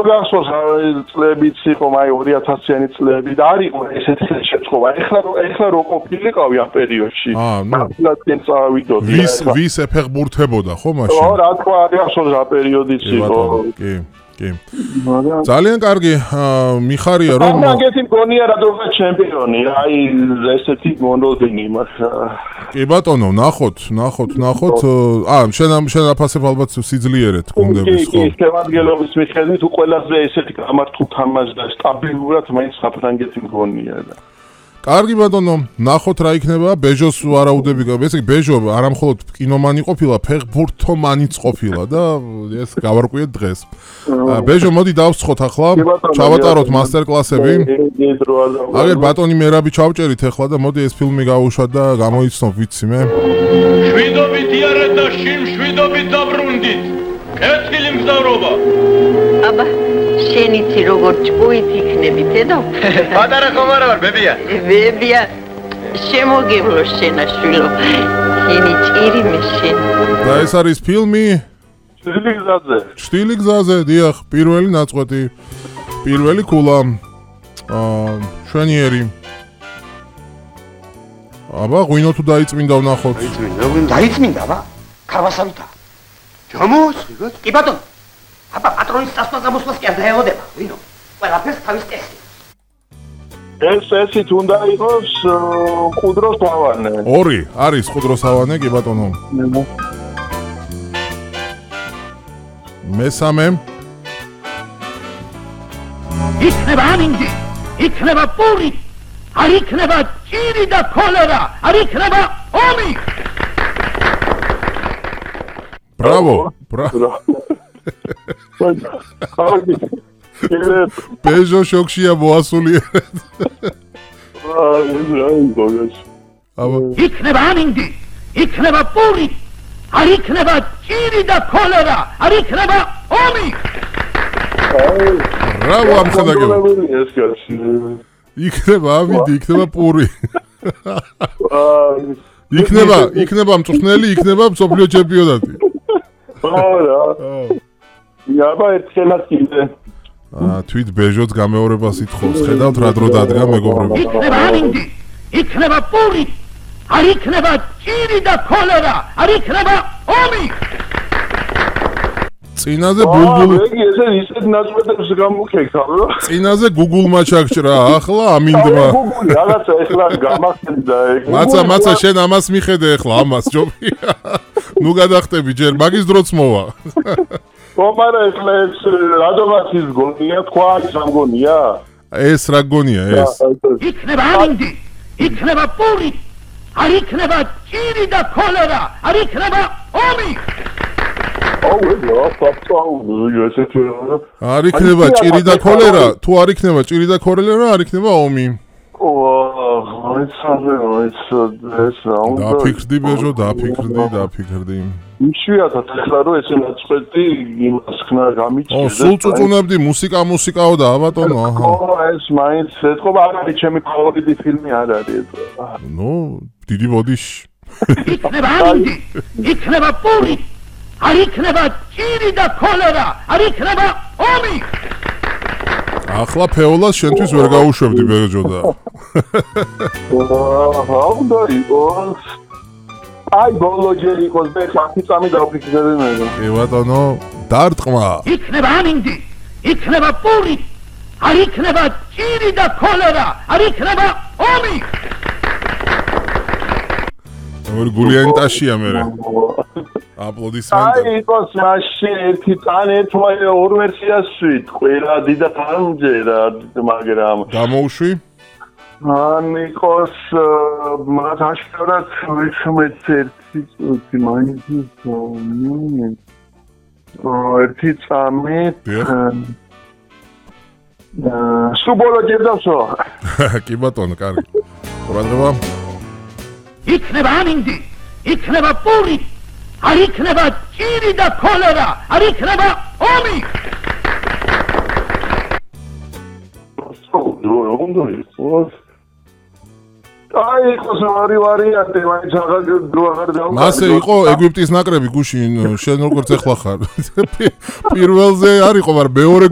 გახსოვს წლებიც იყო, აი 2000-იანი წლები და არ იყო ესეთი შეწყობა. ეხლა რო ყოფილიყავი ამ პერიოდში. ნაცვლად წავიდოდი. ვის ეფეხბურთებოდა ხო მაშინ? ხო, რა თქმა უნდა, გახსოვს რა პერიოდიც იყო. კი. ძალიან კარგი, მიხარია რომ მაგეთი მგონია რადგან ჩემპიონი, აი ესეთი მონოდინი იმას. კი ბატონო, ნახოთ. შენ აფასებ ალბათ სიძლიერეთ გუნდების ხო? კი, შემადგენლობის მიხედვით ყველაზე ესეთი გამართულ თამაშს და სტაბილურად მაინც საფრანგეთი მგონია და კარგი ბატონო, ნახოთ რა იქნება. ბეჟოს ვარაუდები, ესე იგი ბეჟო არა მხოლოდ კინომანი ყოფილა, ფეხბურთომანიც ყოფილა და ეს გავარკვიეთ დღეს. ბეჟო, მოდი დავსხოთ ახლა, ჩავატაროთ მასტერკლასები. აგერ ბატონი მერაბი ჩავჭერით ახლა და მოდი ეს ფილმი გავუშვათ და გამოიცნობ ვიცი მე. შვიდობით იარეთ და შვიდობით დაბრუნდით. კეთილი მგზავრობა. აბა შენიცი როგორ ჭკუით იქნები დედო? პატარა ხომ არა ვარ, ბებია? ბებია, შემოგევლო შენაშვილო. შენი ჭირი მე შენ. და ეს არის ფილმი ჭრილი გზაზე, დიახ, პირველი ნაწყვეტი, პირველი ქულა. შვენიერი. აბა, ღვინო თუ დაიწმინდა ვნახოთ. დაიწმინდა, აბა? ქარვასავითა. ჯამოსიღოთ? კი ბატონო. აბა პატრონის დასწრაფოს კი არ დაელოდება, ვინო? ყველაფერს თავის ტესტი. ესეთ უნდა იყოს ყუდროს ავანე. ორი არის ყუდროს ავანე, კი ბატონო. მესამე. იქნება ამინდი, იქნება პური, არ იქნება ჭირი და ქოლერა, არ იქნება ომი. ბრავო. ბეჟო შოქშია მოასულიერეთ. იქნება ამინდი, იქნება პური, არ იქნება ჭირი და ქოლერა, არ იქნება ომი. ბრავო ამხანაგები. იქნება ამინდი, იქნება პური. იქნება მწვრთნელი, იქნება მსოფლიო ჩემპიონატი. არა. აბა ერთხელაც კიდე. თვით ბეჟოც გამეორებას ითხოვს. ხედავთ რა დრო დადგა მეგობრები. იქნება ამინდი, იქნება პური, არ იქნება ჭირი და ქოლერა, არ იქნება ომი. წინაზე ბულბული. ესე ისეთ ნაწყვეტებს გამოგეკავ, რა. წინაზე გუგულმა ჩაგჭრა, ახლა ამინდმა. გუგული რაღაცა ეხლა გამახსენდა ეგ. მაცა შენ ამას მიხედე ახლა ამას ჯობია. ნუ გადახტები ჯერ მაგის დროც მოვა. ხომარა ეხლა ეს რადომაც ის გონია, თქვა ის ამ გონია? ეს რა გონია ეს? იქნება ამინდი, იქნება პური, არ იქნება ჭირი და ქოლერა, არ იქნება ომი. არ იქნება ჭირი და ქოლერა, თუ არ იქნება ჭირი და ქოლერა, არ იქნება ომი. დაფიქრდი ბეჟო, დაფიქრდი. იშვიათად ეხლა რომ ესე ნაწყვეტი იმას ხნა გამიჭირდა. სულ წუწუნებდი მუსიკაო და აბატონო, აჰა. ეს მაინც ეთქობა არ არის ჩემი ფავორიტი ფილმი არ არის. ნუ, დიდი ბოდიში. იქნება ამინდი, იქნება პური, არ იქნება ჭირი და ქოლერა, არ იქნება ომი. ახლა ფეოლას შენთვის ვერ გაუშვებდი ბეჟო და. უნდა იყოს. აი ბოლო ჯერ იყოს და 10 წამი დავფიქრები მე. კი ბატონო, დარტყმა. იქნება ამინდი, იქნება პური, არ იქნება ჭირი და ქოლერა, არ იქნება ომი. ორ გულიანი ტაშია მე. აპლოდისმენტები. აი იყოს მაშინ ერთი წან ერთმანე ორ ვერსიას ვით, ყველა დიდად არ მჯერა, მაგრამ გამოუშვი? ან იყოს მათ აშკარად ვეშმეც ერთი წუთი მაინც ერთი წამი სუბოლო ჯერდავსო. კი ბატონო, კარგი. ყურადღება. იქნება ამინდი, იქნება პური, არ იქნება ჭირი და ქოლერა, არ იქნება ომი. აი იყოს ორი ვარიანტი, მაინც აღარ დავუყარე. მასე იყო ეგვიპტის ნაკრები გუშინ, შენ როგორც ეხლა ხარ. პირველზე არ იყო, მაგრამ მეორე